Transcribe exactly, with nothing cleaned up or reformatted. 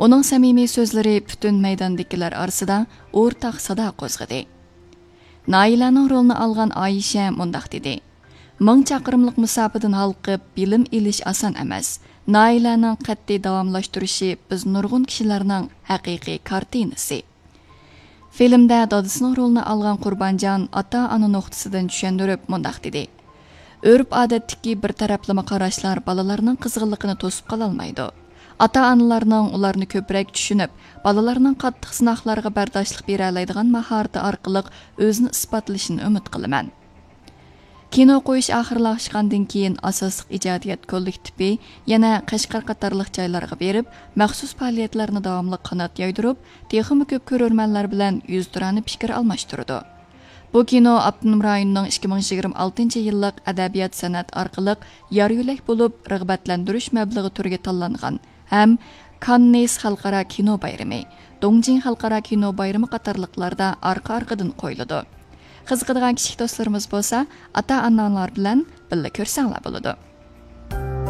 ئۇنىڭ سەمىمىي سۆزلىرى پۈتۈن مەيداندىكىلەر ئارىسىدا ئورتاق سادا قوزغىدى. نايلەنىڭ رولىنى ئالغان ئايشە مۇنداق دېدى: «مىڭ چاقىرىملىق مۇساپىدىن ھالقىپ بىلىم ئېلىش ئاسان ئەمەس. نايلەنىڭ قەتئىي داۋاملاشتۇرۇشى بىز نۇرغۇن كىشىلەرنىڭ ھەقىقىي كارتىنىسى.» فىلىمدە دادىسىنىڭ رولىنى ئالغان قۇربانجان ئاتا-ئانا نۇقتىسىدىن چۈشەندۈرۈپ مۇنداق دېدى: «ئۆرپ-ئادەتتىكى بىر تەرەپلىمە قاراشلار بالىلارنىڭ قىزغىنلىقىنى توسۇپ قالالمايدۇ. ئاتا-ئانىلارنىڭ ئۇلارنى كۆپرەك چۈشىنىپ، بالىلارنىڭ قاتتىق سىناقلارغا بەرداشلىق بېرەلەيدىغان ماھارىتى ئارقىلىق ئۆزىنى ئىسپاتلىشىنى ئۈمىد قىلىمەن.» كىنو قويۇش ئاخىرلاشقاندىن كېيىن، ئاساسلىق ئىجادىيەت كوللېكتىپى يەنە قەشقەر قاتارلىق جايلارغا بېرىپ، مەخسۇس پائالىيەتلەرنى داۋاملىق قانات يايدۇرۇپ، تېخىمۇ كۆپ كۆرۈرمەنلەر بىلەن يۈزتۇرانە پىكىر ئالماشتۇرىدۇ. بۇ كىنو ئاپتونوم رايوننىڭ ئىككى مىڭ يىگىرمە ئالتىنچى يىللىق ئەدەبىيات-سەنئەت ئارقىلىق يار يۆلەك بولۇپ رىغبەتلەندۈرۈش مەبلىغى تۈرىگە تاللانغان ھەم كاننېس خەلقئارا كىنو بايرىمى، دۇڭجىڭ خەلقئارا كىنو بايرىمى قاتارلىقلاردا ئارقا-ئارقىدىن قويۇلىدۇ. قىزىقىدىغان كىچىك دوستلىرىمىز بولسا، ئاتا-ئاناڭلار بىلەن بىللە كۆرسەڭلار بولىدۇ.